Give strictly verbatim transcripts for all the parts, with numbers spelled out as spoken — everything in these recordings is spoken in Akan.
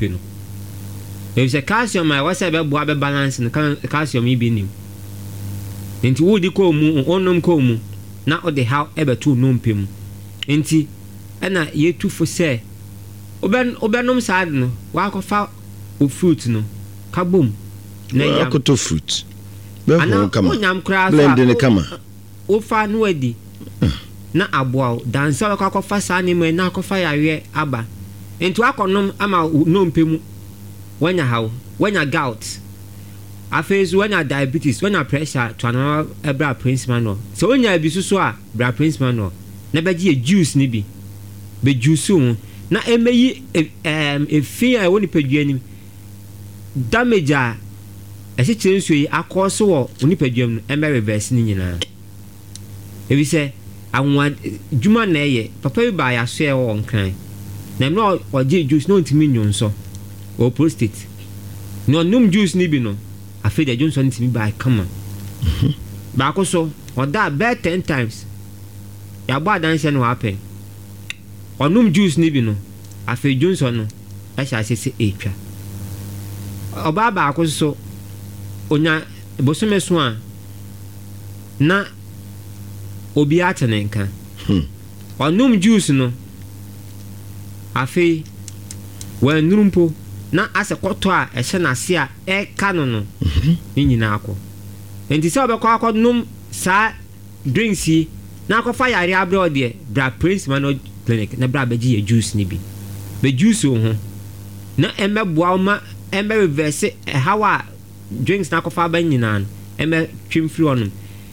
nnompe no, efisɛ calcium a ɛwɔ sɛ ɛbɛboa bɛ balance no, calcium yi bi nim. Nti wodi kɔɔ mu, wonom kɔɔ mu na wode haw ɛbɛto nnompe mu. Nti ɛna yɛtu fo sɛ wobɛnom saa de no, wakɔfa wo fruit no ka bom na yam. Akoto fruit bɛho kama, wonyam koraa so blend ne kama. Wofa no adi na aboa wo dansa. Wobɛkɔ akɔfa saa nneɛma yi na akɔfa yareɛ aba. Nti wakɔnom ama wo nnompe mu wanya haw, wanya gout, afei so wanya diabetes, wanya pressure. To anama ɛbrɛ Prince Manuel. Sɛ wonya bi soso a, bra Prince Manuel na bɛgye yɛ juice no bi, bɛjuice ho na ɛmɛyi ɛɛm efi a ɛwɔ nipadua nim, damage a ɛkyekyere nsuo yi akɔ so wɔ nipadua mu no, ɛmɛ reverse ne nyinaa, ebi sɛ anwa dwuma na ɛyɛ. Papa bi baa yaso ɛwɔ Nkran na mmerɛ ɔgye juice na ɔntumi nnwonsɔ, ɔwɔ prostate, na ɔnom juice no bi no, afei deɛ dwonsɔ no tumi baa kama. Baako so ɔda bɛɛ ten times, yɛabɔ adanseɛ no wapɛn. Ɔnom juice no bi no, afei dwonsɔ no ɛhyɛ ase sɛ ɛtwa. Ɔbaa baako so onya bosome so a na obi ate ne nka. Ɔnom juice no, afei wɔanuru mpo na asɛ kɔtɔ a ɛhyɛ n'ase a ɛka no no ne nyinaa kɔ. Nti sɛ ɔbɛkɔ akɔnom saa drinks yi na akɔfa yare abrɛ, ɔdeɛ bra Prince Manuel Clinic na bra bɛgye yɛ juice no bi, bɛ juice wo ho na ɛmɛboa wo ma ɛmɛ reverse ɛhaw a drinks na akɔfa aba nyinaa no, ɛmɛ twem firi hɔnom.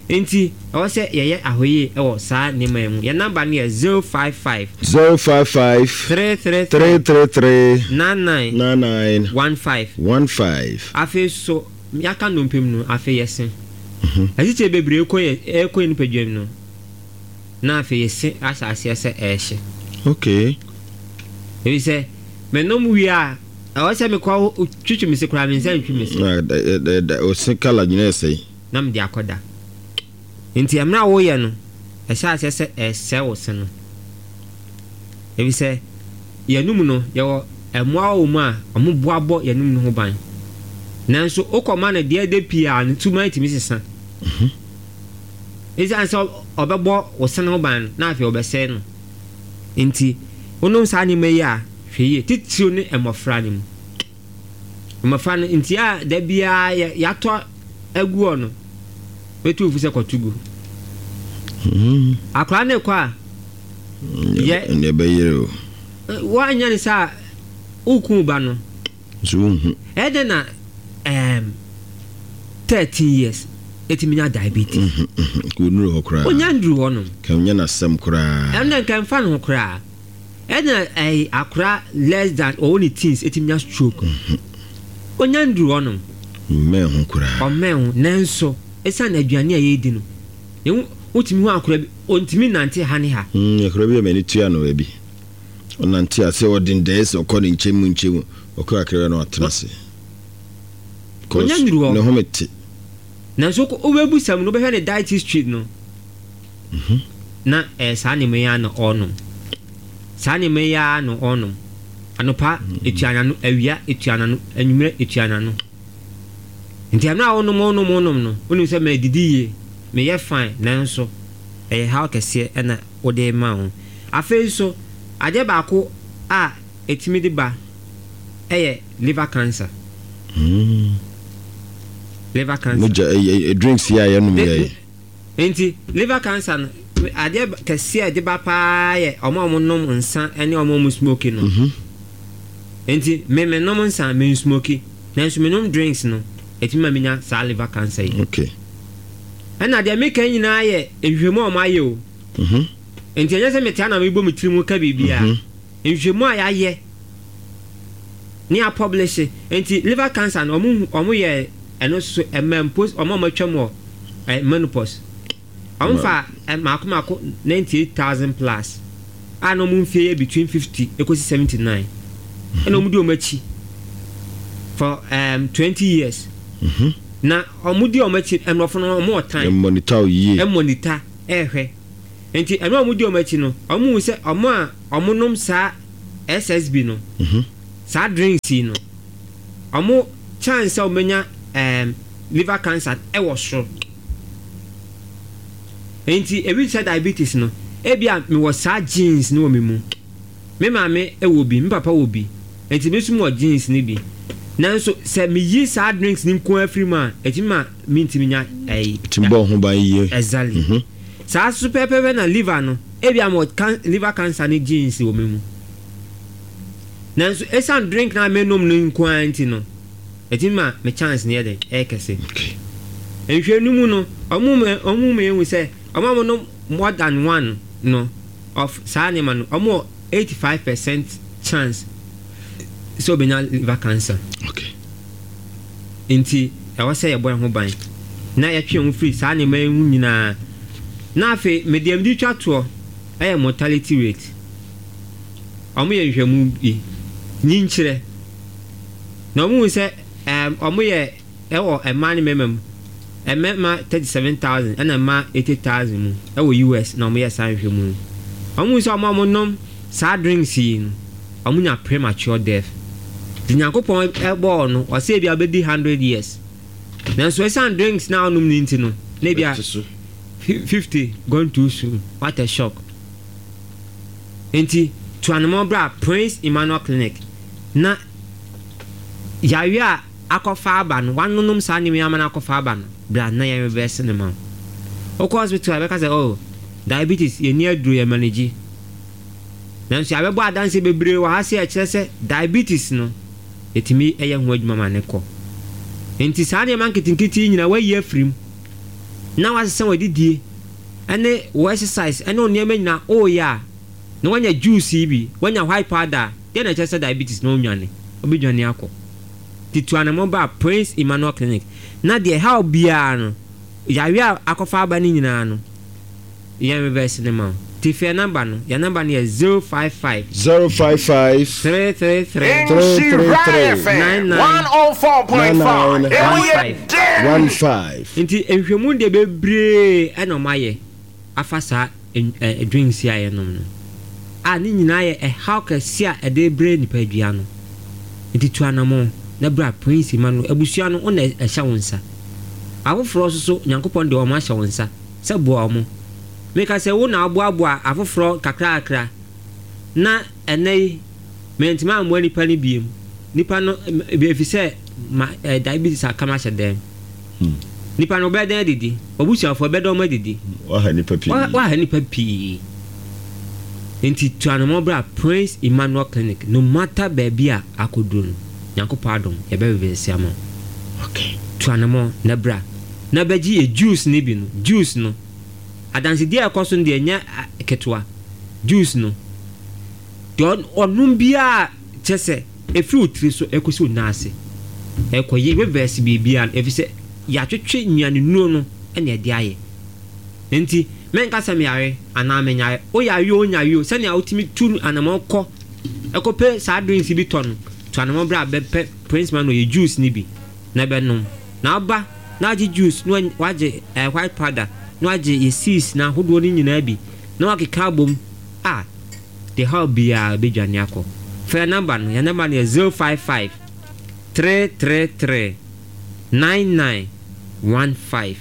Nti ɛwɔ sɛ yɛyɛ ahoyie ɛwɔ saa nneɛma yi mu. Yɛn number no yɛ zero five five zero five five three three three three three nine nine nine nine one five. one five. Afei so yɛaka nnompe mu no, afei yɛse asikyire bebree kɔ yɛ ɛkɔ yɛ nipadua mu no, na afei yɛse ahyɛ aseɛ sɛ ɛɛhye. Okay ebi sɛ menom wie a, ɛwɔ sɛ mekɔ twitwi me se koraa, me nsa ntwi me se. Na ɛ- ɛ- ɛ- ɔse kala nyina ɛsɛe. Na mede akɔda. Nti mmerɛ a woyɛ no, ɛhyɛ aseɛ sɛ ɛsɛe wo se no, ebi sɛ yɛnum no, yɛwɔ mmoa wɔ mu a ɔmo boabɔ yɛnum no ho ban, nanso wokɔma no deɛ ɛde pii a, ne tuma tumi sesa. Ɛsiane sɛ ɔbɛbɔ wo se no ho ban no, na afei ɔbɛsɛe no. Nti wonom saa nneɛma yi a, hwɛ yie, titiriw ne mmɔfra no mu, mmɔfra no nti a da biara yɛ- yɛatɔ agu hɔ no, bɛtu fo sɛ kɔto gu. Akwaraa ne kɔ a yɛ Ɛnɛ ɛbɛyere o. Woanyɛ ne sɛ a, woku ba no. Nso wonhu. Ɛdɛn na um, thirteen years ɛtumi nya diabetes? Ka ɔnuru hɔ koraa. Onya nduru hɔ nom. Ka ɔnyɛ n'asɛm koraa. Ɛno dɛ nka mfa ne ho koraa. Ɛna ɛyɛ akora less than ɔwɔ ne teens ɛtumi nya stroke, onya nduru hɔ nom. Mmɛn ho koraa. Ɔmmɛn ho, nanso ɛsiane aduane a yɛredi no, ɛhu wotumi hu akora bi ɔntumi nante ha ne ha. Mm, akora bi a m'ani tua no baabi, ɔnante ase, ɔde ndɛɛ sɛ ɔkɔ ne nkyɛn mu nkyɛn mu, ɔkɔ akra no, atena ase. Ɔnya nduru hɔ. Ne home te. Nanso wokɔ- wobɛbu sɛm no, wobɛhwɛ ne diet history no na ɛyɛ saa nneɛma yi ara na ɔrenom, saa nneɛma yi ara na ɔrenom. Anɔpa etua n'ano, awia etua n'ano, anwummerɛ etua n'ano. Nti ɛno a wonom wonom wonom no, wonim sɛ mɛdidi yie, meyɛ fine, nanso ɛyɛ haw kɛseɛ ɛna wode ma wo. Afei nso adeɛ baako a ɛtumi de ba ɛyɛ liver cancer. Liver cancer. Mogya ɛyɛ drinks yi a yɛnom yɛ. Nti liver cancer no, adeɛ kɛseɛ a ɛde ba paa yɛ ɔmo a ɔmo nom nsa ne ɔmo a ɔmo smoke no. Nti me me nom nsa, me smoke, nanso me nom drinks no, ɛtumi ma me nya saa liver cancer yi. Okay ɛna deɛ meka nyinaa yɛ nhwehwɛmu a ɔmo ayɛ o. Mhm. Nti ɛnyɛ sɛ metea na mebɔ me tiri mu ka biribiara. Nhwehwɛmu a yɛayɛ ne apublish. Nti liver cancer no, ɔmo ɔmo yɛ ɛno so ɛmɛ mpo ɔmo a ɔmo atwam wɔ ɛ menopause, ɔmo fa ɛ mako mako ninety eight thousand plus a na ɔmo mfie yɛ between fifty ekosi seventy nine, ɛna ɔmo di ɔmo akyi for um, twenty years Mhm. na ɔmo di ɔmo akyi. Ɛmɔfo no, ɔmo wɔ time. Monitor wo yie. Ɛmonitor ɛɛhwɛ. Nti ɛno a ɔmo di ɔmo akyi no, ɔmo hu sɛ ɔmo a ɔmo nom saa S S B no Mhm. Saa drinks yi no, ɔmo chance sɛ ɔmenya um, liver cancer ɛwɔ soro. Nti ebi sɛ diabetes no, ebi a mewɔ saa genes no wɔ me mu, me maame ɛwɔ bi, me papa wɔ bi, nti me nso wɔ genes no bi. Nanso sɛ meyi saa drinks no nko afiri mu a, ɛtumi ma mentumi nya ɛyi. Tumi bɔ ho ban yie. Exactly. Mhm. Saa so pɛpɛpɛ na liver no, ebi a mewɔ can liver cancer ne genes wɔ me mu, nanso esan drink na menom no nko ara nti no, ɛtumi ma me chance no yɛ dɛ ɛyɛ kɛse. Okay. Nhwɛ no mu no, ɔmo ma ɔmo ma ehu sɛ ɔmo a wɔnom more than one no of saa nneɛma no, ɔmo wɔ eighty five percent chance sɛ ɔbɛnya liver cancer. Okay. Nti ɛwɔ sɛ yɛbɔ yɛn ho ban na yɛtwe yɛn ho firi saa nneɛma yi ho nyinaa. Na afei mede mede twa toɔ ɛyɛ mortality rate. Ɔmo yɛ nhwɛmu bi nyinkyerɛ na ɔmo hu sɛ ɛɛm ɔmo yɛ ɛwɔ mmaa ne mmarima mu, mmarima thirty seven thousand ɛna mmaa eighty thousand mu ɛwɔ U S na ɔmo yɛ saa nhwɛmu no. Ɔmo hu sɛ ɔmo a ɔmo nom saa drinks yi no, ɔmo nya premature death. Nti Nyankopɔn ɛbɔɔ no, ɔsɛ ebi a ɔbɛdi hundred years, nanso ɛsan drinks na ɔnom ne nti no, na ebi a Bɛte so. fifty gone too soon. What a shock! Nti tu anamɔ bra Prince Emmanuel Clinic na yareɛ a akɔfa aba no, wanonom saa nneɛma yi ama no akɔfa aba no, bra na yɛn reverse ne ma wo. Wokɔ hospital a, bɛka sɛ, "Oh, diabetes, yɛni aduro, yɛ manage." Nanso yɛabɛbɔ adanse bebree wɔ ha sɛ ɛkyerɛ sɛ diabetes no, yɛtumi ɛyɛ ho adwuma ma ne kɔ. Nti saa nneɛma nketenkete yi nyinaa wayi afiri mu na wasesa w'adidie ɛne wɔ exercise ɛne wo nneɛma nyinaa ɔɔyɛ a, na wanya juice yi bi, wanya white powder a, deɛ na ɛkyerɛ sɛ diabetes na ɔnwane, ɔbɛdwane akɔ. Nti tu anamɔ ba Prince Emmanuel Clinic na deɛ ɛhaw biara no, yare a akɔfa aba no nyinaa no, yɛn reverse ne ma wo. Nti fɛ number no, yɛn number no yɛ zero five five zero five five three three three three three three nine nine nine nine one five. one five. Nti nhwɛmu deɛ bebree ɛna ɔmo ayɛ afa saa ɛ ɛ drinks yi a yɛnom no a, ne nyinaa yɛ ɛhaw kɛse a ɛde brɛ nipadua no. Nti tu anamɔ na bra Prince Emmanuel. Abusua no, wo na ɛhyɛ wo nsa. Afoforɔ nso so, Nyankopɔn de wɔn ahyɛ wo nsa sɛ boa wɔn. Meka sɛ wo na aboaboa afoforɔ kakrakra na ɛnɛ yi mɛntumi ammoa nipa no biem, nipa no efi sɛ ma ɛ diabetes aka ma ahyɛ dɛm. Nipa no ɔbɛyɛ dɛn adidi? Wabusuafoɔ ɛbɛdɛ ɔmo adidi? Waha nipa pii. Wa- waha nipa pii. Nti tu anamɔ bra Prince Emmanuel Clinic. No matter baabi a akɔduro no, Nyankopɔn adom, yɛbɛbɛbɛsi ama wo. Okay. Tu anamɔ na bra na bɛgye yɛ juice no bi no. Juice no adansedie a ɛkɔ so no deɛ, nyɛ a, ketewa. Juice no deɛ, ɔn- ɔnom biara kyɛ sɛ ɛfiri wo tiri so ɛkɔsi wo nan ase, ɛkɔyɛ reverse biribiara no, ɛfiri sɛ yɛatwetwe nnuane nnuro no ɛna ɛde ayɛ. Nti menka sɛ meyare anaa menyare, woyare o, wonyare o, sɛnea wotumi tu anamɔ kɔ ɛkɔpɛ saa drinks bi tɔ no, tu anamɔ berɛ a bɛpɛ Prince Man yɛ juice no bi na bɛnom. Na ɔba na wagye juice na wagye eh, white powder, na wagye yɛ seeds na ahodoɔ no nyinaa bi na wakeka abom a, de haw biara bɛdwane akɔ. Frɛ number no, yɛ number no yɛ zero five five three three three nine nine one five,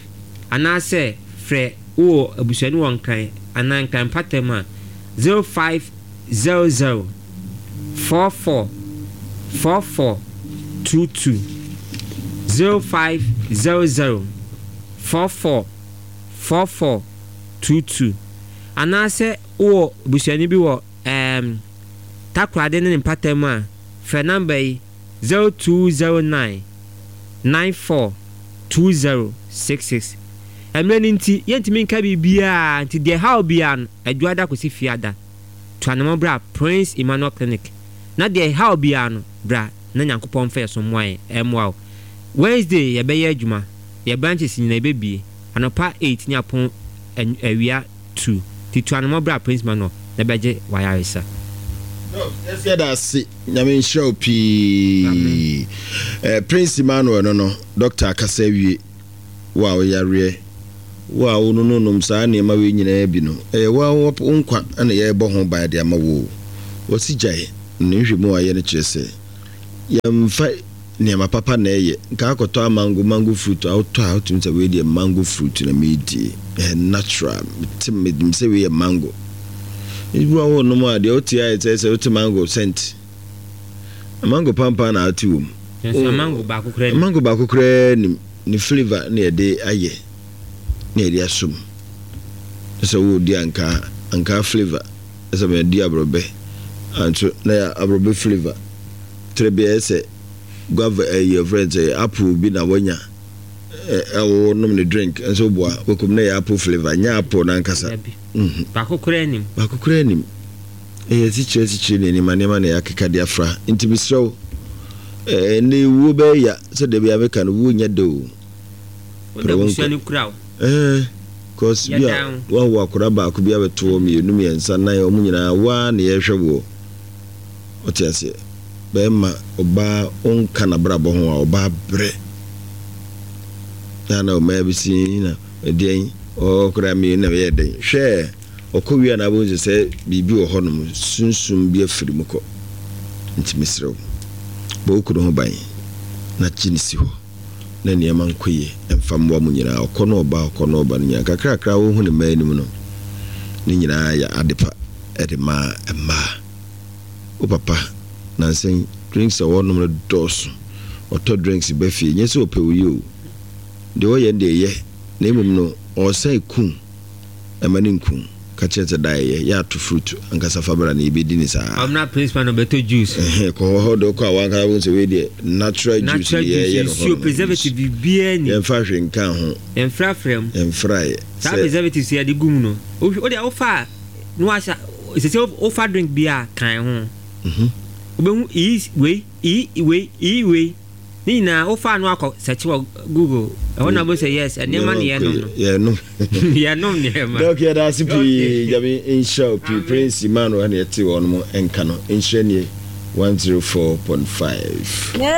anaasɛ frɛ wowɔ abusuani wɔ Nkran anaa Nkran mpatam a, zero five zero zero four four four four two two, zero five zero zero four four four four two two, anaasɛ wowɔ abusuani bi wɔ ɛɛm Takoradi ne ne mpatam a, frɛ number yi zero two zero nine nine four two zero six six. Mmerɛ no nti yɛntumi nka biribiara, nti deɛ ɛhaw biara no, Adwuada kɔsi Fiada, tu anamɔ bra Prince Emmanuel Clinic na deɛ ɛhaw biara no, bra na Nyankopɔn mfa yɛ so mmoa yɛn, ɛmmoa wo. Wednesday yɛbɛyɛ adwuma, yɛ branches nyinaa yɛbɛbie anɔpa eight ne apɔn awia two. Nti tu anamɔ bra Prince Emmanuel na bɛgye wayaresa. Yɛda ase, Nyame nhyira wo pii. eh, prince Emmanuel no no doctor akasa awie. Wo a woyareɛ, wo a wonononom saa nneɛma wei nyinaa bi no, ɛyɛ wo wo nkwa na yɛrebɔ ho ban de ama wo. Wɔsi gyae ne nhwɛmu a ayɛ no kyerɛ sɛ Yɛmfa nneɛma papa na ɛyɛ. Nka akɔtɔ amango, mango fruit a wotɔ a, wotumi sɛ wei deɛ mango fruit na meedie, ɛyɛ natural. Mete menim sɛ wei yɛ mango. Ebi wɔ hɔ nom a, deɛ wote ayɛ sɛ sɛ wote mango scent, mango pampa na ate wɔ mu. Nso mango baako koraa ni. Mango baako koraa nim ne flavour na yɛde ayɛ na yɛde asom sɛ wodi ankaa, ankaa flavour, sɛ mɛdi aborɔbɛ anso na yɛ aborɔbɛ flavour tere bi. Ɛyɛ sɛ guava, ɛyɛ friend sɛ apple bi na wanya ɛwɔ nom ne drink nso boa wɔkum na yɛ apple flavour, nyɛ apple nankasa. Dabi. Baako koraa nim. Baako koraa nim. Ɛyɛ sikyerɛ sikyerɛ ne nneɛma nneɛma na yɛakeka de afra. Nti mesrɛ wo, ɛɛ ne wuo bɛyɛ ya sɛ dabi a meka no, wuo nyɛ de o. Wode abusua no kura wo. Ɛɛ cause bi a Yɛdan wawo akwadaa baako bi abɛto hɔ, mmienu, mmiɛnsa, nan, wɔn nyinaa waa na yɛrehwɛ woɔ. Ɔte aseɛ, bɛrima, ɔbaa ɔnka n'abrabɔ ho a, ɔbaa brɛ na na ɔmaa bi si na ɛdeɛn ɔkora mmienu na ɛyɛ den. Hwɛ, ɔkɔ wie a na abɛhu sɛ sɛ biribi wɔ hɔnom, sunsum bi afiri mu kɔ. Nti mesrɛ wo, bɔ wo kunu ho ban na kyi ne si hɔ na nneɛma nkɔ yie ɛmfa mmoa mu nyinaa. Ɔkɔ no ɔba, ɔkɔ no ɔba no nyinaa kakrakra, wohu ne mmaa anim no ne nyinaa yɛ ade pa ɛde maa mmaa. Wo papa nansɛn drinks a wɔnom no dɔɔso. Ɔtɔ drinks ba fie, nyɛ sɛ ɔpɛ wo yie o, deɛ ɔyɛ no deɛ ɛyɛ, na mmom no ɔresan kum ɛma ne nkum. Ka kyerɛ sɛ da ɛyɛ yɛ ato fruit ankasa fa bra na yɛbɛdi ne saa. Ɔmna principal na ɔbɛtɔ juice. Ɛhɛn, kɔ hɔ hɔ de wokɔ a, wankasa wohu sɛ wei deɛ natural juice. Natural ne yɛyɛ juice no hɔ nsuo nom. Preservative biribiara ni. Yɛmfa hwee nka ho. Yɛmfrafra mu. Yɛmfraeɛ. Saa sɛ preservatives yɛde gu mu no, wohwɛ wode wofa a na wahyɛ sɛ sɛ wofa drink bi a kan ho, Mhm. wobɛhu iyi wei, iyi wei, iyi wei ne nyinaa. Wofa no akɔ sɛkye wɔ Google ɛhɔ na wobɛhu sɛ yes, nneɛma ne yɛnom no. Yɛnom. Yɛnom nneɛma. Doc, yɛda ase pii. Okay. Nyame nhyira wo pii. Amen. Prince Emmanuel ne yɛte wɔ nom nka no. Nhyira nie one zero four point five. Yeah.